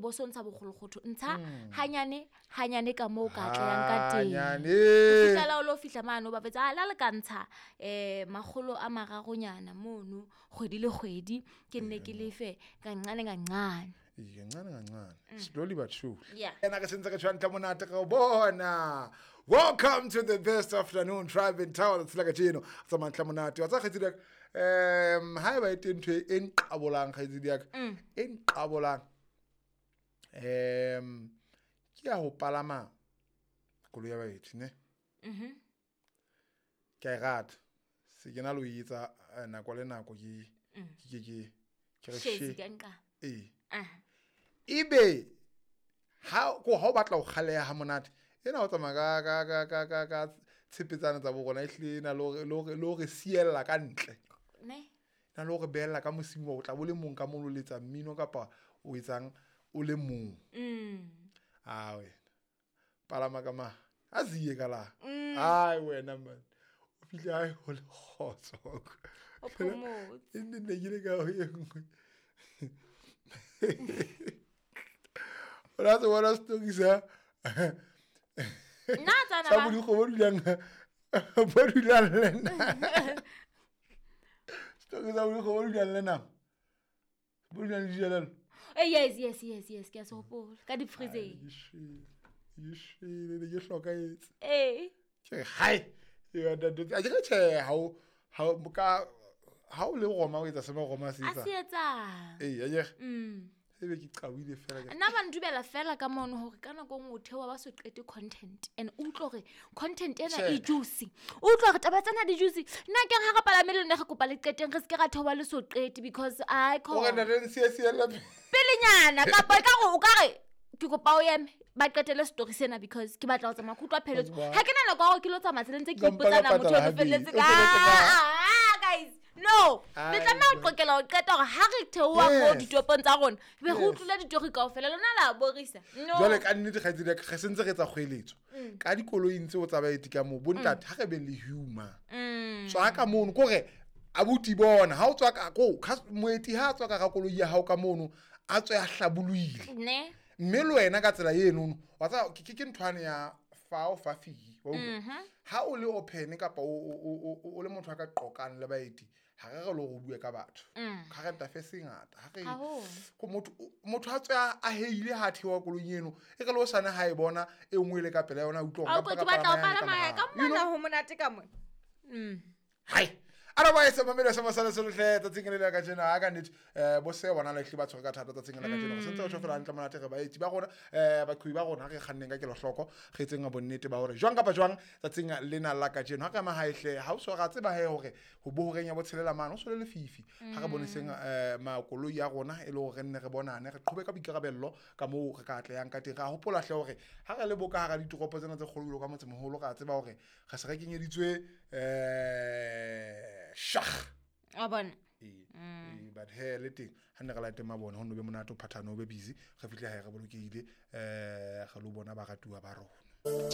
bo so ntsha bokgolokgotho ntsha hanyane hanyane ka moo o ka atlehang ka teng. Hanyane. Fihlela o lo fihla mane o ba fetsa a la le ka ntsha 300 mono kgwedi le kgwedi ke nne ke lefe kancane kancane. Ee, kancane kancane, slowly but surely. Yeah. Ena ke sentse re tshwa ntle monate re o bona. Welcome to the best afternoon drive in town. Tsela kajeno tsamaya ntle monate wa tsa kgaitsedi ya ka. Ha eba e teng ntho e nqabolang kgaitsedi ya ka, e nqabolang, ke ya ho palama koloi ya baeti ne. Ke a e rata, se ke na le ho e etsa nako le nako ke ke ke ke re Shezi she. ka nqa. Ee. Aha. Ebe ha ko ha o batla ho kgaleha ha monate ena o tsamaya ka ka ka ka ka ka tshepetsana tsa bo rona e hlile e na le hore le hore le hore siella ka ntle. Ne. Na le hore behella ka mosing o tla bo le mong ka mono o letsa mmino kapa o etsang o le mong. A wena. Palama ka ma. A ziye ka la. Ai wena man. O fihle hae ho le kgotso. O phomotse. E nne ne ke le ka ho e nngwe. O la se bona story sa Nna tsana sa ba- bodikgo bo dulang bo dulang le nna. Story sa bodikgo bo dulang le nama. Bo dulang le dijelello. Yes, yes, yes, yes, ke a se hopola. Ka deep freezeng. Ke shwele, ke shwele, ne ke hlokahetse. Ee. Ke re, hai. Ke re, ntate, a ke re tjhe, ha o, ha o, ka, ha o le Roma o etsa se mo Roma se A etsang. se etsang. Ee, a ke re. Ebe ke qawile fela ke re, Nna ba ndubela fela ka mono hore ka nako e nngwe o theoha ba so qete content and o utlwe hore content ena e Tjhe. juicy. O utlwe hore taba tsena di juicy. Nna ke re ha re palame le lona re kopa le qeteng re se ke ra theoha le so qete because ai O re khona. ntate re siye siella pele. Pelenyana kapa ekare o ka re ke kopa o eme ba qetele story sena because ke batla ho tsamaya ke utlwa pheletso. Wa- Ha ke na nako ya hore ke lo tsamaya tseleng tse ke Ka mpa ka ipotsana motho patala o habedi. felletse O ka felletse ka- ah, guys. No, le Ai, tlameha ho bo. qokela ho qeta hore ha re theoha mo Yes. ditopong tsa rona, be re Yes. utlwile ditori kaofela, lona la borisa. No. Jwale ka nnete kgaitsedi ya ka, re sentse re etsa kgoeletso. Ka dikoloing tseo tsa baeti ka moo, bontate ha re beng le humor. Tswa ka mono, kore abuti bona, ha o tswa ka ko, moeti ha a tswa ka hara koloi ya hao ka mono, a tswe a hlabollohile. Ne. Mme le wena ka tsela eno, wa tseba, ke nthwane ya fa o fa fee, wa utlwa? Ha o le open kapa o le motho a ka qoqang le baeti, ha re re le hore o bue ka batho. Current affairs e ngata. Ha re Haholo. ko motho a tswe a heile ha a theoha koloing eno, e re le hosane ha e bona e nngwe e le ka pela yona, a utlwa hore A ka utlwa ke mpa ka batla ho palama palama yane ya ka ka morao. You mona know? ho monate ka mona. Hai. Otherwise, mamelo sa masala se lehle tsatsing le la kajeno ha ka nnete, bo se bona le hle ba tshwere ka thata tsatsing la kajeno. Re sentse re tjho fela hantle monate re baetsi ba rona, baqhobi ba rona re kganneng ka kelohloko, re etseng bonnete ba hore jwang kapa jwang tsatsing lena la kajeno. Ha re ema hae hle, ha o so ra tseba he hore ho bo horeng ya botshelela mane, ho so le lefifi. Ha re boneseng, makoloi a rona e le hore re nne re bonane, re qhobe ka boikarabello ka moo re ka atlehang ka teng. Ra hopola hle hore ha re le bo ka hara ditoropo tsena tse kgolo jwalo ka motsemoholo, ra tseba hore re se re kenyeditswe, shakh. Wa bona? Ee, ee, but he le teng ha nne re late mabone ho no be monate o phathane o be busy, re fihle hae re bolokehile, re lo bona baratuwa ba rona.